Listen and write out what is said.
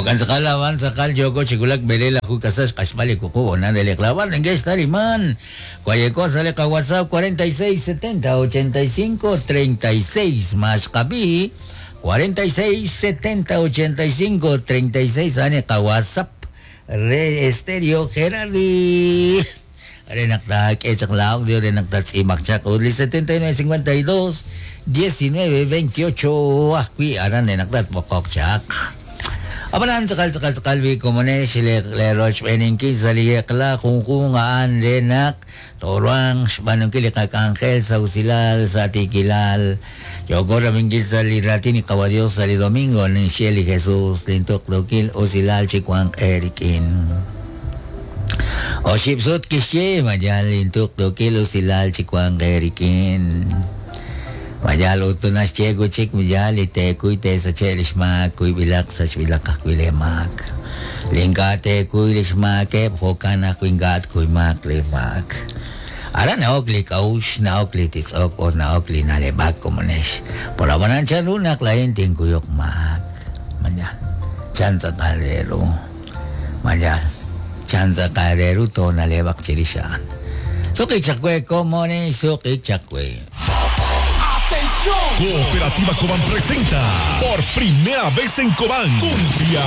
Jo'kan tz'aqal ab'an tz'aqal yooko chi wulak b'eleelaju k'asal xq'axb'al li wuqub' honal re li qlab'al neke'xtaliman wayeko sa' li qaWhatsApp 46 70 85 36 ma xqab'i 46 70 85 36 a'an li qaWhatsApp re Estéreo Gerardi re naq taak'e chaq la audio re naq tatz'iib'aq chaq ut li 79 52 19 28 ajwi' aran re naq tatb'oqoq chaq. Ab'anan tz'aqal tz'aqal tz'aqal wi komonex le rochb'eeninkil sa' li eq'la junjunq a'an re naq tooruhanq xb'aanunkil li qak'anjel sa' usilal sa' tiikilal. Yooko rab'inkil sa' li raatin li Qawa' Dios sa' li domingo ninxye li Jesús lintuqtuukil usilal chiwanq eerik'in. Oxib' sut kixye ma yaal lintuqtuukil usilal chiwanq eerik'in. Ma yaal ut naxye wi' chik ma yaal li teekuy teesache' li xmaak kuyb'ilaq sachb'ilaq ajwi' leemaak. Li ink'a' teekuy li xmaakeb' jo'kan ajwi' ink'a' tkuymaaq li maak. Aran na'ok li k'a'uxl, na'ok li titz'ok ut na'ok li na'leb'ak komonex. Por ab'anan chanru naq laa'in tinkuyuq maak. Ma yaal chan tz'aqal re ru. Ma yaal chan tz'aqal re ru toona'leb'aq chirix a'an. Suq'ik chaq we komonex, suq'ik chaq we. ¡Atención! Cooperativa Cobán presenta por primera vez en Cobán Cumbia.